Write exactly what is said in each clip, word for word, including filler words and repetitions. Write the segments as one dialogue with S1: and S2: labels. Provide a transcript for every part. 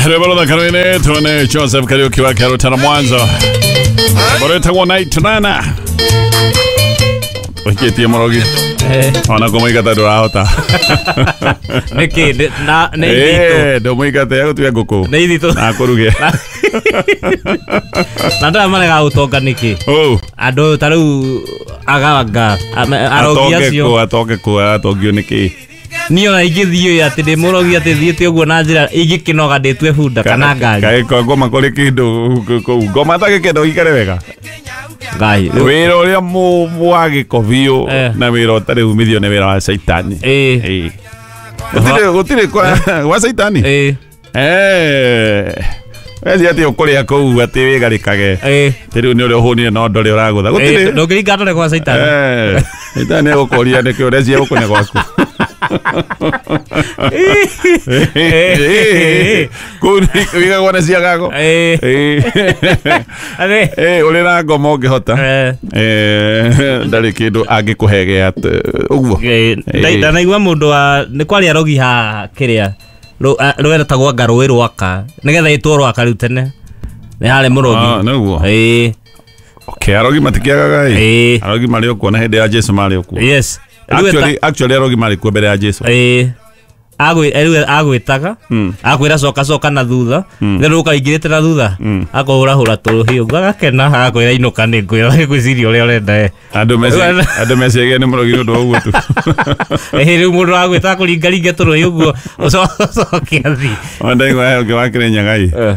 S1: Rwĩmbo rũthaka tuone Joseph Kariuki wa Kĩarũtara Mwanza. Rwĩtagwo Night Nana. Ũhikĩtie mũrogi. Ona kũmũingata ndũrahota.
S2: Nĩkĩ na nĩ ithitũ.
S1: Eh, ndũmũingate agũtuĩka ngũkũ.
S2: Nĩ ithitũ.
S1: Na akũruge.
S2: Na ndara marega gũtonga nĩkĩ?
S1: Oh.
S2: Andũ ta rĩu aganga arogi acio.
S1: Atoke kũ atongio nĩkĩ?
S2: Niĩ ona ingĩthiĩ atĩ ndĩ mũrogi atĩ thiĩte ũguo na njĩra ingĩkĩnoga ndĩtue bunda kana ngari.
S1: Kaĩ kwa ngoma kũrĩ kĩndũ kũu. Ngoma atagĩkenda ũikare wega.
S2: Ngai.
S1: Wĩra ũrĩa wa gĩko biũ na wĩra ũtarĩ umithio nĩ wĩra wa caitani.
S2: Ĩĩ.
S1: Gũtirĩ gũtirĩ wa caitani?
S2: Ĩĩ.
S1: Eh. Wezi atĩ ũkũrĩa kũu atĩ wĩgarĩkage.
S2: Ĩĩ.
S1: Atĩ rĩu nĩ ũrĩa ũhũnire no ndore ũragũtha. Gũtirĩ.
S2: Ndũngĩringa ndore kwa caitani.
S1: Eh. Caitani egũkũria nĩkĩ ũrecia gũkũ nĩ gwaku. Kũu wĩigagwo nĩ ciagago.
S2: Ĩĩ.
S1: Ĩĩ ũrĩ na ngoma ũngĩhota. Eh ndarĩ kĩndũ angĩkũhe gĩa ũguo.
S2: Ndanaigua mũndũ wa nĩ kwarĩ arogi ha kĩrĩa rwetagwo anga rũĩ rwaka nĩgetha ĩtwo rwaka rĩu tene nĩ harĩ mũrogi.
S1: Ah nĩguo.
S2: Ĩĩ.
S1: Okay, arogi matikĩagaga
S2: ĩ.
S1: Arogi marĩ o kuo na hĩndĩ ya Jesu marĩ o kuo.
S2: Yes.
S1: Actually, actually arogi marĩ kuo mbere ya Jesu.
S2: Ĩĩ. Agwĩ rĩu agwĩtaga akwĩra coka coka na thutha rĩu ũkaingĩrĩte na thutha akũhũrahũra tũrũhiũ ũguo agakena agakwĩra inũka nĩ ngwĩra ngwĩciria ũrĩa ũrenda ĩ.
S1: Andũ meci andũ meciagia nĩ mũrogi nĩ ũndũ wa ũguo tu.
S2: Ĩĩ rĩu mũndũ agwĩta akũringaringe tũrũhiũ ũguo ũcoke athiĩ.
S1: Ona ndaigua he ũngĩ wa Kĩrĩnyaga ĩ.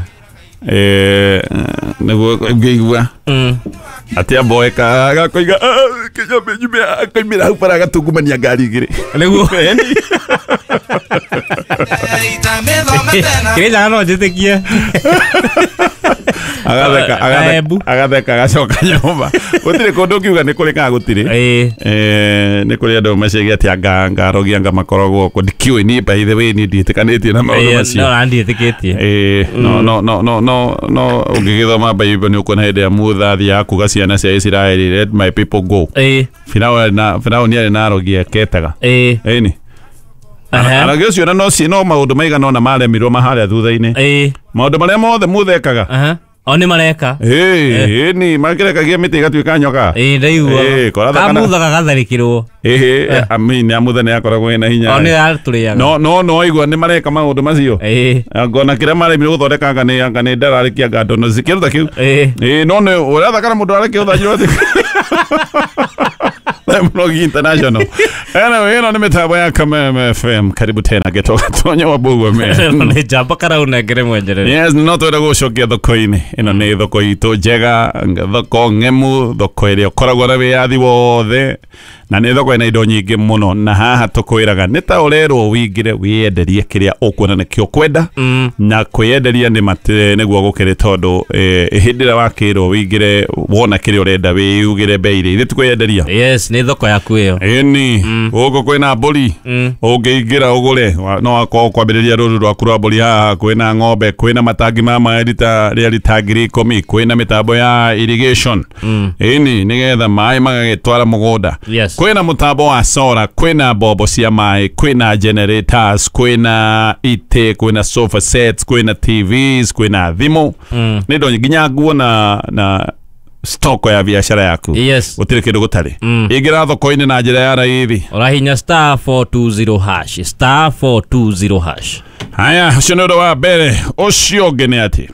S1: Eh nĩguo ngĩigua atĩ amboeka agakoiga kĩnyambe akoimĩra hau bara agatungumania ngari igĩrĩ.
S2: Nĩguo. Kĩrĩnyaga no njĩtĩkie.
S1: Agatheka agatheka agacoka nyũmba. Gũtirĩ kũndũ ũngiuga nĩ kũrĩ kana gũtirĩ. Eh nĩ kũrĩ andũ meciagia atĩ anga anga arogi anga makoragwo kuo. Ndikĩũĩ niĩ by the way niĩ ndiĩtĩkanĩtie na maũndũ macio.
S2: No na ndiĩtĩkĩtie.
S1: Eh no no no no no no ũngĩgĩthoma Bible nĩ ũkuona hĩndĩ ya Mutha athiaga kuga ciana cia Isiraeli let my people go.
S2: Ĩĩ.
S1: Firaũni na Firaũni arĩ na arogi aketaga.
S2: Ĩĩ.
S1: Ĩni. Arogi ũcio na no no maũndũ maigana ũna maremirwo maharĩa thutha-inĩ.
S2: Ĩĩ.
S1: Maũndũ marĩa mothe Mutha ekaga.
S2: Aha. O nĩ mareka.
S1: Ĩĩ, ĩni makĩrekagia mĩtĩ ĩgatuĩka nyoka.
S2: Ĩĩ ndaigua.
S1: Ĩĩ, koratha kana
S2: Kamutha gagatharĩkĩrwo.
S1: Ĩĩ, I mean Amutha nĩ akoragwo ena hinya.
S2: O nĩ atũrĩaga.
S1: No no no aigua nĩ mareka maũndũ macio.
S2: Ĩĩ.
S1: Ngona kĩrĩa maremirwo gũthondeka anga nĩ anga nĩ ndararĩkia anga ndono kĩndũ ta kĩu.
S2: Ĩĩ.
S1: Ĩĩ, no nĩ ũratha kana mũndũ arekĩũtha njĩra atĩ. Mũrogi International. Anyway, ĩno nĩ mĩtambo ya Kameme F M. Karibu tena getoka tonya wa Bugwe me.
S2: Nĩ njamba karaunengere mwenjerere.
S1: Yes, no twenda gũcokia thoko-inĩ. Ĩno nĩ thoko itũ njega, thoko ng'emu, thoko ĩrĩa ũkoragwo na wĩyathi wothe. Na nĩ thoko ĩna indo nyingĩ mũno na haha tũkwĩraga nĩ ta ũrerwo wĩingĩre wĩyenderie kĩrĩa ũkuona nĩkĩo ũkwenda na kwĩyenderia nĩ matĩ nĩguo gũkĩrĩ tondũ hĩndĩ ĩrĩa wakĩrwo wĩingĩre wona kĩrĩa ũrenda wĩyugĩre bei rĩ ithuĩ tũkwĩyenderia.
S2: Yes, nĩ thoko yaku ĩyo.
S1: Ĩni gũkũ kwĩna mbũri ũngĩingĩra ũgũre no akorwo kwambĩrĩria rũru rwaku rwa mbũri haha kwĩna ng'ombe kwĩna matangi ma maĩ rita rĩa rita ngiri ikũmi kwĩna mĩtambo ya irrigation ĩni nĩgetha maĩ magagĩtwara mũgũnda. Kwĩna mũtambo wa solar, kwĩna mbombo cia maĩ, kwĩna generators, kwĩna itĩ, kwĩna sofa sets, kwĩna T Vs, kwĩna thimũ. Nĩ indo nginya nguo na na stoko ya biashara yaku.
S2: Yes.
S1: Gũtirĩ kĩndũ gũtarĩ. Ingĩra thoko-inĩ na njĩra ya raithi.
S2: Ũrahinya star four two zero hash, star four two zero hash.
S1: Haya, ũcio nĩ ũndũ wa mbere. Ũcio ũngĩ nĩ atĩ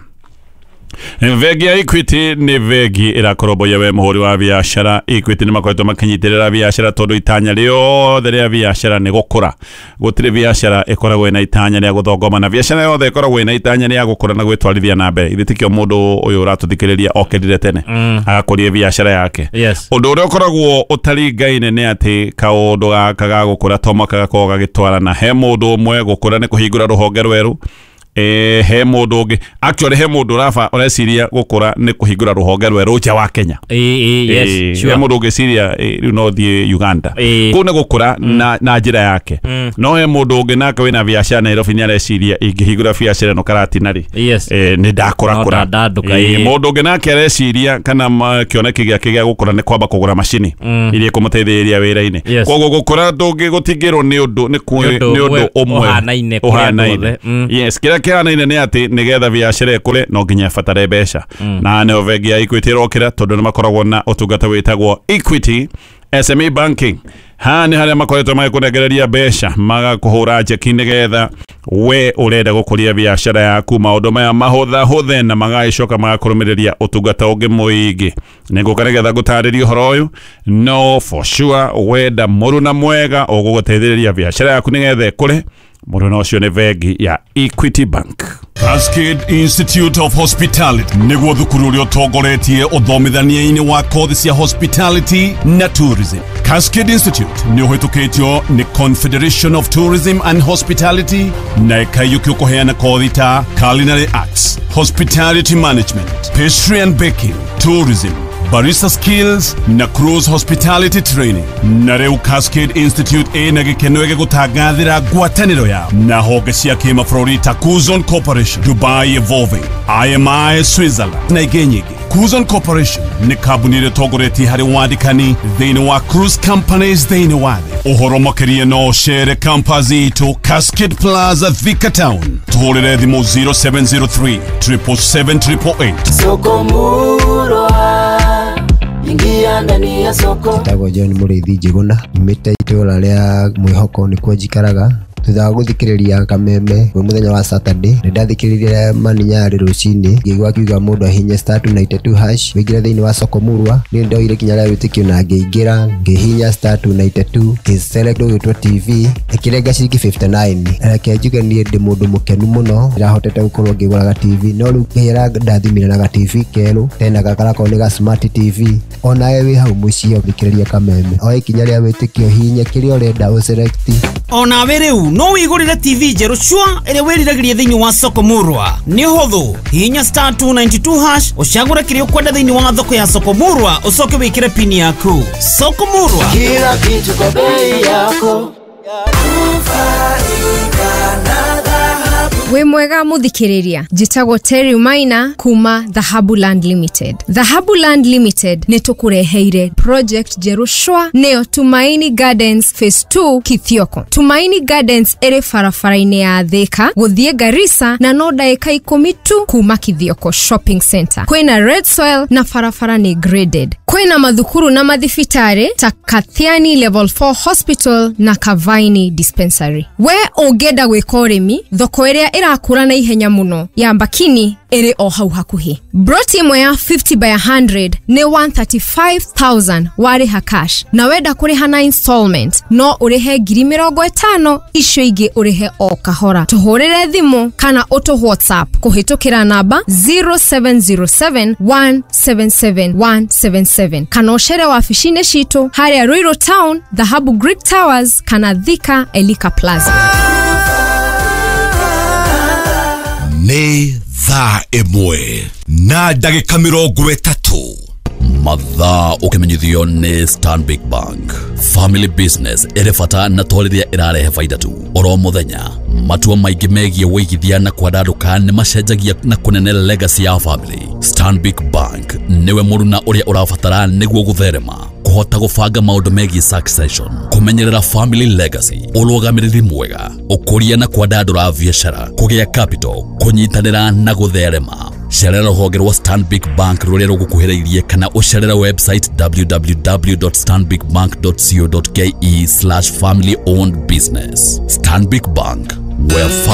S1: Bengi ya Equity nĩ bengi ĩrakoromboia we mũhũri wa biashara. Equity nĩ makoretwo makĩnyitĩrĩra biashara tondũ itanya rĩothe rĩa biashara nĩ gũkũra. Gũtirĩ biashara ĩkoragwo ĩna itanya rĩa gũthongoma na biashara yothe ĩkoragwo ĩna itanya rĩa gũkũra na gwĩtwarithia na mbere. Ithe tikĩo mũndũ ũyũ ũratũthikĩrĩria okĩrire tene agakũria biashara yake.
S2: Yes.
S1: Ũndũ ũrĩa ũkoragwo ũtaringaine nĩ atĩ kaũndũ gaka ga gũkũra to mũhaka gakorwo gagĩtwarana. He mũndũ ũmwe gũkũra nĩ kũhingũra rũhonge rwerũ. Eh he mũndũ ũngĩ actually he mũndũ ũraba ũreciria gũkũra nĩ kũhingũra rũhonge rwerũ nja wa Kenya.
S2: Ĩĩ yes sure.
S1: He mũndũ ũngĩciria rĩu no thiĩ Uganda. Kũu nĩ gũkũra na na njĩra yake. No he mũndũ ũngĩ nake wĩna biacara Nairobi nĩ areciria ingĩhingũra biacara ĩno Karatina rĩ.
S2: Yes.
S1: Eh nĩ ndakũra kũra. Mũndũ ũngĩ nake areciria kana kĩoneki gĩake gĩa gũkũra nĩ kwamba kũgũra macini iria ikũmũteithĩrĩria wĩra-inĩ. Koguo gũkũra ndũngĩ gũtingĩrwo nĩ ũndũ nĩ ũndũ ũmwe
S2: ũhanaine.
S1: Yes, kĩrĩa Kĩhanaine nĩ atĩ nĩgetha biacara ĩkũre no nginya ĩbatare mbeca, na nĩho bengi ya Equity ĩrokĩra, tondũ nĩ makoragwo na ũtungata wĩtagwo Equity S M E Banking. Haha nĩ harĩa makoretwo magĩkũnengereria mbeca, magakũhũra njeki nĩgetha we ũrenda gũkũria biacara yaku maũndũ maya mahũthahũthe, na magagĩcoka magakũrũmĩrĩria ũtungata ũngĩ mũingĩ. Nĩngũka nĩgetha ngũtarĩrie ũhoro ũyũ, no for sure wenda mũruna mwega ũgũgũteithĩrĩria biacara yaku nĩgetha ĩkũre, mũruna ũcio nĩ bengi ya Equity Bank.
S3: Cascade Institute of Hospitality nĩguo thukuru ũrĩa ũtongoretie ũthomithania-inĩ wa kothi cia hospitality na tourism. Cascade Institute nĩ ũhĩtũkĩtio nĩ Confederation of Tourism and Hospitality na ĩkaiyũkio kũheana kothi ta culinary arts, hospitality management, pastry and baking, tourism, barista skills na cruise hospitality training. Na rĩu Cascade Institute ĩna gĩkeno gĩgũtangathĩra ngwatanĩro yao na honge cia kĩmabũrũri ta Cuzon Corporation, Dubai Evolving, I M I Switzerland na ingĩ nyingĩ. Cuzon Corporation nĩ kambuni ĩrĩa ĩtongoretie harĩ wandĩkani thĩinĩ wa cruise companies thĩinĩ wa thĩ. Ũhoro makĩria no ũcere campus itũ Cascade Plaza, Thika Town. Tũhũrĩre thimũ zero seven zero three seven seven seven eight eight eight.
S4: Soko Murwa, ingia ndani ya soko.
S5: Njĩtagwo John Mũrĩithi Njĩgũna, nyumĩte itũra rĩa Mwĩhoko, nĩkuo njikaraga. Thutha wa gũthikĩrĩria Kameme kwĩ mũthenya wa Saturday, nĩ ndathikĩrĩirie Mani Nyarĩ rũcinĩ, ngĩigua akiuga mũndũ ahihinye star two ninety two hash wĩingĩre thĩinĩ wa soko murwa. Niĩ ndoire ikinya rĩa wĩtĩkio na ngĩingĩra, ngĩhihinya star two ninety two, ngĩ select ũgĩtwo T V, ĩkĩrenga ciringi fifty-nine. Reke njuge niĩ ndĩ mũndũ mũkenu mũno, ndĩrahotete gũkorwo ngĩgũraga T V, no rĩu Ngai arandathimire na ga T V kerũ tena gakarakorwo nĩ ga smart T V. Onawe wĩ hau mũciĩ ũthikĩrĩria Kameme, oe ikinya rĩa wĩtĩkio, hihinya kĩrĩa ũrenda, ũselect.
S6: Onawe rĩu no wĩgũrĩre T V njerũ cua ĩrĩa wĩriragĩria thĩinĩ wa soko murwa. Nĩ ũhũthũ, hihinya star two ninety two hash, ũcagũre kĩrĩa ũkwenda thĩinĩ wa thoko ya soko murwa, ũcoke wĩkĩre pini yaku. Soko murwa.
S4: Kila kitu kwa bei yako.
S7: Wĩ mwega mũthikĩrĩria, njĩtagwo Terry Maina kuma Dhahabu Land Limited. Dhahabu Land Limited nĩ tũkũreheire project njerũ cwa, nĩyo Tumaini Gardens Phase two Kithioko. Tumaini Gardens ĩrĩ barabara-inĩ ya Thika gũthiĩ Garissa na no ndagĩka ikũmi tu kuma Kithioko Shopping Center. Kwĩna red soil na barabara nĩ graded. Kwĩna mathukuru na mathibitarĩ ta Kathiani Level four Hospital na Kavaini Dispensary. We ũngĩenda gwĩka ũrĩmi, thoko ĩrĩa ĩrakũra na ihenya mũno ya Mbakini ĩrĩ o hau hakuhĩ. Broti ĩmwe ya fifty by one hundred nĩ one hundred thirty-five thousand warĩha cash, na wenda kũrĩha na installment no ũrĩhe ngiri mĩrongo ĩtano, icio ingĩ ũrĩhe o kahora. Tũhũrĩre thimũ kana ũtũ WhatsApp kũhĩtũkĩra namba zero seven zero seven one seven seven one seven seven, kana ũcere wabici-inĩ citũ harĩa Ruiru Town, Dhahabu Greek Towers, kana Thika Elika Plaza.
S3: Nĩ thaa ĩmwe na ndagĩka mĩrongo ĩtatũ.
S8: Mathaa ũkĩmenyithio nĩ Stanbic Bank. Family business ĩrĩ bata na to rĩrĩa ĩrarehe baida tu. Oro mũthenya matua maingĩ megiĩ wĩigithia na kwandandũka nĩ macenjagia na kũnene legacy ya family. Stanbic Bank nĩwe mũruna ũrĩa ũrabatara nĩguo gũtherema, kũhota gũbanga maũndũ megiĩ succession, kũmenyerera family legacy, ũrũgamĩrĩri mwega, ũkũria na kwandandũra biacara, kũgĩa capital, kũnyitanĩra na gũtherema. Cerera rũhonge rwa Stanbic Bank rũrĩa rũgũkuhĩrĩirie kana ũcerere website w w w dot stanbicbank dot co dot k e slash family owned business. Stanbic Bank, where family